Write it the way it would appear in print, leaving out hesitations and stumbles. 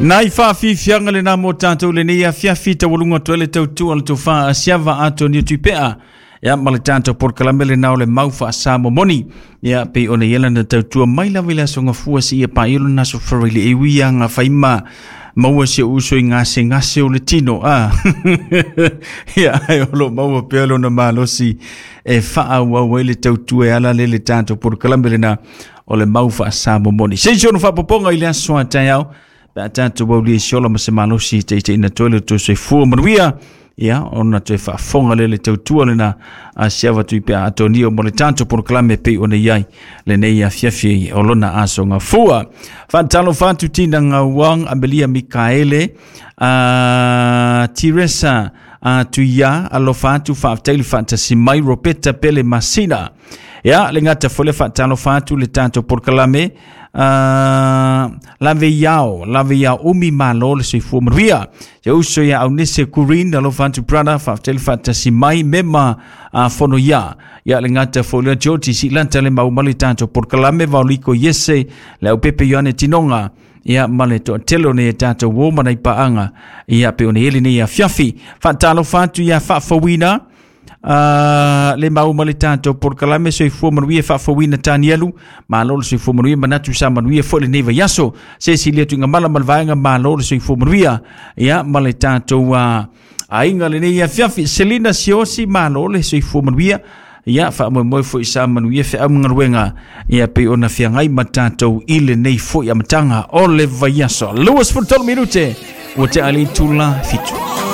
Nai faafiafiaga lena mo tatou lenei afiafi taualuga atu ai le tautua a le tofa a Siava Atonio Tuipea. Ia ma le tatou polokalame lena o le mau faasamomoni. Ia pei ona i ai lana tautua mai lava i le aso Gafua seia paia lona aso Faraile e ui lava gafa ma maua si ou uso i gasegase o le tino. A. Ia ae o lo o maua pea lona malosi e faaauau ai le tautua e ala lea i le tatou polokalame lena o le mau faasamomoni. Se i ono faapopoga i le aso a taeao, pe a tatou aulia i se ola ma se malosi e taitaiina atu ai le tou soifua manuia, ia ona toe faafofoga lea i le tautua lena a Siava Tuipea Atonio mo le tatou polokalame e pei ona i ai lenei afiafi o lona aso gafua. Faatalofa atu Tina Gauang, Amelia Mikaele, Teresa Tuia, alofa atu, faafetai le faatasi mai, Roberta Pele Masina. Ia, le gata foi le faatalofa atu le tatou polokalame, lave iao, lave iao umi malo le soifua manuia. Se uso ia Aunese Kurin, alofa atu brother, faafetai le faatasi mai, mema fono ia. Ia le gata foi le George Silanta le mau ma le tatou polokalame, Vaoliko Iese, le au Pepe Ioane Tinoga, ia ma le toatele o nei e tatou uo ma nai paaga, ia pe o nei ele nei afiafi. Faatalofa atu ia faafouina, le mau ma le tatou polokalame soifua manuia faafouina Tanielu, malo le soifua manuia, manatu sa manuia foi lenei vaiaso. Se sili atu i mala ma le vaega, malo le soifua manuia, ia ma le tatou aiga lenei afiafi. Selina Siosi, malo le soifua manuia, ia faamoemoe foi sa manuia feau ma galuega, ia pei ona feagai ma tatou i lenei foi amataga o le vaiaso. 23 minute ua tea le itula 7.